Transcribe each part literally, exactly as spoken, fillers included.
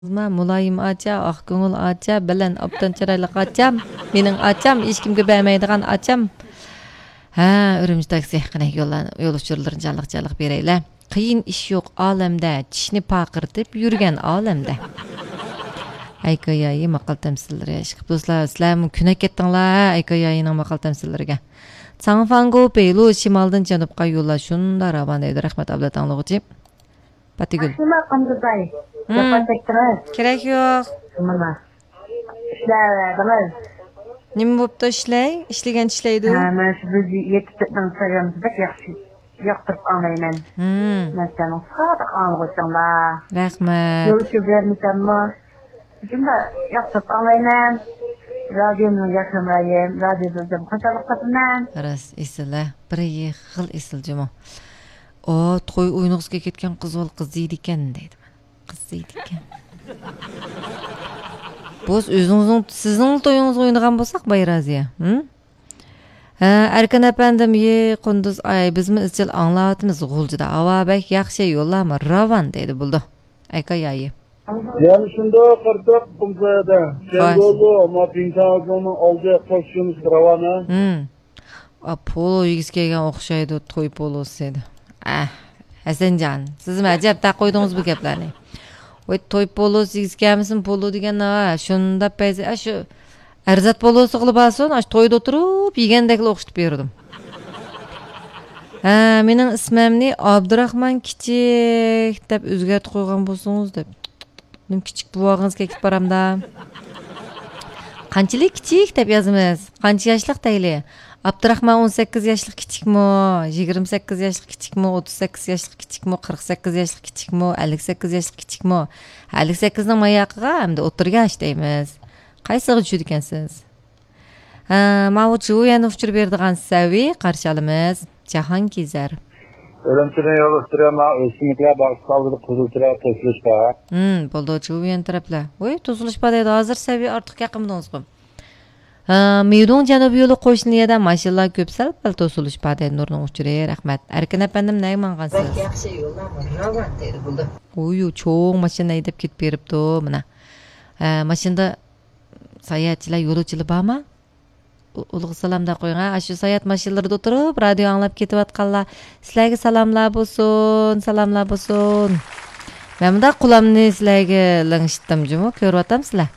مۇلايىم ئاچا، ئاق كۆڭۈل ئاچا، بەلەن ئوبدان چىرايلىق ئاچام، مېنىڭ ئاچام، ھېچكىمگە بەرمەيدىغان ئاچام. ھە، ئۈرۈمچى تاكسى، قېنى يوللار، يول ئۇچۇرلىرىنى جانلىق جانلىق بېرەيلى. قىيىن ئىش يوق ئالەمدە، چىشنى پارقىرىتىپ يۈرگەن ئالەمدە. ئەي كايايى ماقال تەمسىللىرى، ئىشقىپ دوستلار، سىلەرمۇ كۆنەك كەتتىڭلار، ھە، ئەي كايايىنىڭ ماقال تەمسىللىرىگە. ساڭفاڭگو پېيلۇ شىمالدىن جەنۇبقا يوللار شۇنداق راۋان دەيدۇ. رەھمەت، ئابلەت ئاڭلىغۇچى. پاتىگۈل. شۇنداق قاندىزاي. مم. جاپا چەكتىڭىز. كېرەك يوق. مانا. ئىشلەۋەردىڭىز. نېمە بوپتۇ ئىشلەي؟ ئىشلىگەن ئىشلەيدۇ. ھە، مانا شۇ بىز يېتىپ كەتنىڭ سايامىز بەك ياخشى. ياقتۇرۇپ ئاڭلايمەن. مم. مەن سېنىڭ سادىق ئاڭلىغۇچىڭلار. رەھمەت. يول ئۇچۇر بەرمىسەممۇ، شۇنداق ياقتۇرۇپ ئاڭلايمەن. رادىيونىڭ ياخشى نومۇرى، رادىيو بىلدىم، خۇشاللىق تاپىمەن. راست، ئېسىل، ھە. بىر خىل ئېسىل جۇمۇ. ئۇ توي ئوينىغۇسىغا كەتكەن قىز بول، قىز دەيدىكەن دەيدىمەن. قىز دەيدىكەن. بوس ئۆزىڭىزنىڭ، سىزنىڭ تويىڭىزغا ئوينىغان بولساق بايرازىيە. ھە، ئەركىن ئەپەندىم، يې قۇندۇز ئاي، بىزمۇ ئىزچىل ئاڭلاۋاتىمىز غۇلجىدا. ھاۋا بەك ياخشى، يوللارمۇ راۋان دەيدۇ بولدى. ئەكا يايى. يەنە شۇنداق قارىساق، قۇمسايادا، ۋاي. جەڭگولۇ، ما پىڭتاڭ ئالدى قوشۇنۇش راۋانە. ھىم. ئا، پولو يېگۈسى كەلگەن ئوخشايدۇ، توي پولوسى دېدى. ئەھ، ھەسەنجان، سىزمۇ ئەجەب تاق قويدىڭىز بۇ گەپلەرنى. ۋاي، توي پولوسى يېگۈسى كەلمىسۇن، پولو دېگەن نېمە؟ شۇنداق پەيزى، ئا، شۇ ئەرزات پولوسىغىلا بارسۇن، ئاشۇ تويدا ئولتۇرۇپ يېگەندەكلا ئوخشىتىپ بېرىدۇ. ھە، مېنىڭ ئىسمىمنى ئابدۇراخمان كىچىك دەپ ئۆزگەرتىپ قويغان بولسىڭىز دەپ. نېمە كىچىك بوۋاقىڭىز كېكىپ بارامدا؟ قانچىلىك كىچىك دەپ يازىمىز؟ قانچە ياشلىق دەيلى؟ ئابدۇراخمان ئون سەككىز ياشلىق كىچىكمۇ؟ يىگىرمە سەككىز ياشلىق كىچىكمۇ؟ ئوتتۇز سەككىز ياشلىق كىچىكمۇ؟ قىرىق سەككىز ياشلىق كىچىكمۇ؟ ئەللىك سەككىز ياشلىق كىچىكمۇ؟ ئەللىك سەككىزنىڭ ماياقىغا ئەمدى ئوتتۇرا ياش دەيمىز. قايسىغا چۈشىدىكەنسىز؟ ھە، ماۋۇ جۇۋيەن ئۇچۇر بېرىدىغان سەۋىي قارشى ئالىمىز. جاھانگېزەر. ئۈرۈمچىدىن يول ئۈستىگە ماڭا ئۆسۈملۈكلەر باغچىسى ئالدىدا قىزىل چىراغ توسۇلۇش بار. ھىم، بولدى، جۇۋيەن تەرەپلەر. ۋوي، توسۇلۇش بار دەيدۇ، ھازىر سەۋىي ئارتۇق يېقىمدىڭىزغۇ. ھە، مىدۇڭ جەنۇبىي يولى قوشنا يەردە ماشىنىلار كۆپ، سەل پەل توسۇلۇش بار دەيدۇ نۇرنىڭ ئۇچۇرى. رەھمەت. ئەركىن ئەپەندىم، نەگە ماڭغانسىز؟ بەك ياخشى يوللار راۋان دەيدۇ بولدى. ئۇيۇ، چوڭ ماشىنا ھەيدەپ كېتىپ بېرىپتۇ، مانا. ھە، ماشىنىدا ساياھەتچىلەر، يولۇچىلار بارمۇ؟ ئۇ-، ئۇلۇغ سالام دەپ قويۇڭ، ھە؟ ئاشۇ ساياھەت ماشىنىلىرىدا ئولتۇرۇپ، رادىيو ئاڭلاپ كېتىۋاتقانلار، سىلەرگە سالاملار بولسۇن، سالاملار بولسۇن. مەن مۇنداق قۇلامنى سىلەرگە لىڭشىتتىم جۇمۇ، كۆرۈۋاتامسىلەر.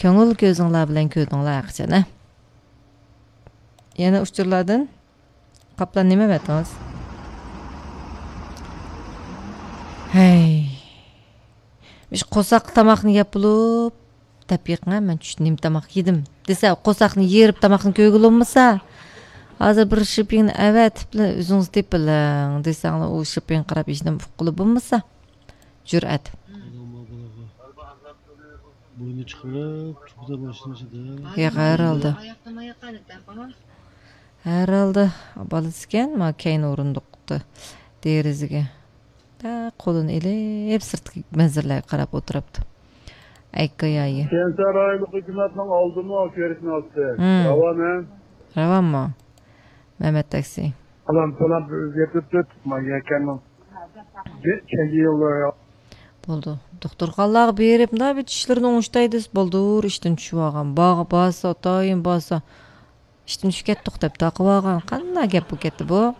كۆڭۈل كۆزۈڭلار بىلەن كۆردۈڭلار ھەقىچان، ھە؟ يەنە ئۇچۇرلاردىن. قاپلان نېمە ئەۋەتتىڭىز؟ ھەي. مۇشۇ قورساققا تاماقنى يەپ بولۇپ، دەپ بېقىڭە، مەن چۈشتە نېمە تاماق يېدىم دېسە، قورساقنى يېرىپ تاماقنى كۆرگىلى بولمىسا، ھازىر بىر شىپىڭنى ئەۋەتىپلا ئۆزىڭىز تېپىلىڭ دېسەڭلار، ئۇ شىپىڭغا قاراپ ھېچنېمە ئۇققىلى بولمىسا. جۈرئەت. بوينى چىقىرىپ، تۇپىدا باشلىنىشىدا. ياق، ھەر ھالدا. ھەر ھالدا بالىسىكەن، ما كەينى ئورۇندۇقتا دېرىزىگە. ھە، قولىنى ئېلىپ، سىرتقى مەنزىرىلەرگە قاراپ ئولتۇرۇپتۇ. ئەككايايى. كەنسە رايونلۇق ھۆكۈمەتنىڭ ئالدىمۇ كۆرۈشنى ئاستى. ھىم. راۋان، ھە؟ راۋانمۇ؟ مەمەت تاكسى. پالان، پالان بىر ئۆزگەرتىپ تۇرۇپ، ما يەكەننىڭ. بىر كەينى يوللار. بولدى. دوختۇرخانىلارغا بېرىپ، مۇنداق بىر چىشلىرىنى ئوڭشىتاي دېسە، بولدى، ئىشتىن چۈشۈۋالغان. باغ-، بارسا، ئاتايىن بارسا، ئىشتىن چۈشۈپ كەتتۇق دەپ تاقىۋالغان. قانداق گەپ بولۇپ كەتتى بۇ؟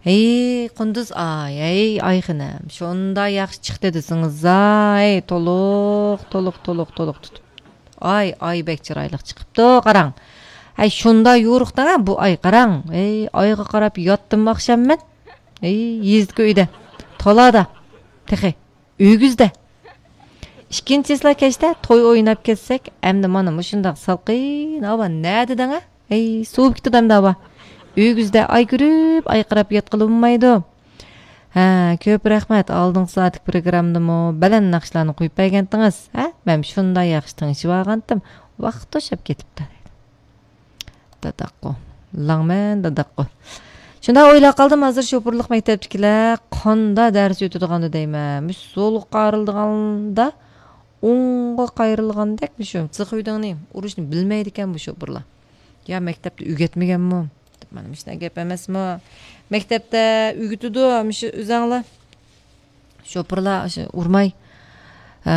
ھەي، قۇندۇز ئاي، ھەي، ئاي خېنىم، شۇنداق ياخشى چىقتى دېسىڭىز، ھەي، تولۇق، تولۇق، تولۇق، تولۇق تۇتۇپ. ئاي، ئاي بەك چىرايلىق چىقىپتۇ، قاراڭ. ھەي، شۇنداق يورۇقتىڭ ھە بۇ ئاي، قاراڭ. ھەي، ئايغا قاراپ ياتتىم ئاخشام مەن. ھەي، يېزىدىكى ئۆيدە، تالادا، تېخى. ئۆگزىدە. ئىككىنچى چىسلا كەچتە توي ئويناپ كەتسەك، ئەمدى مانا مۇشۇنداق سالقىن ھاۋا نەدە دەڭە؟ ھەي، سوۋۇپ كېتىدۇ ئەمدى ھاۋا. ئۆگزىدە ئاي كۆرۈپ، ئاي قاراپ ياتقىلى بولمايدۇ. ھە، كۆپ رەھمەت، ئالدىنقى سائەتلىك پروگراممىدىمۇ بەلەن ناخشىلارنى قويۇپ بەرگەنتىڭىز. ھە، مەن شۇنداق ياخشى تىڭشىۋالغانتىم، ۋاقىت توشاپ كېتىپتۇ. داداققۇ. لاڭمەن داداققۇ. شۇنداق ئويلاپ قالدىم، ھازىر شوپۇرلۇق مەكتەپتىكىلەر قاندا دەرس ئۆتىدىغاندۇ دەيمەن. مۇشۇ سولغا قايرىلغاندا، ئوڭغا قايرىلغاندەك مۇشۇ. سىخۇيدىڭنى ئۇرۇشنى بىلمەيدىكەن بۇ شوپۇرلار. يا مەكتەپتە ئۆگەتمىگەنمۇ؟ مانا مۇشۇنداق گەپ ئەمەسمۇ؟ مەكتەپتە ئۆگىتىدۇ، مۇشۇ ئۆزەڭلار. شوپۇرلار ئاشۇ ئۇرماي،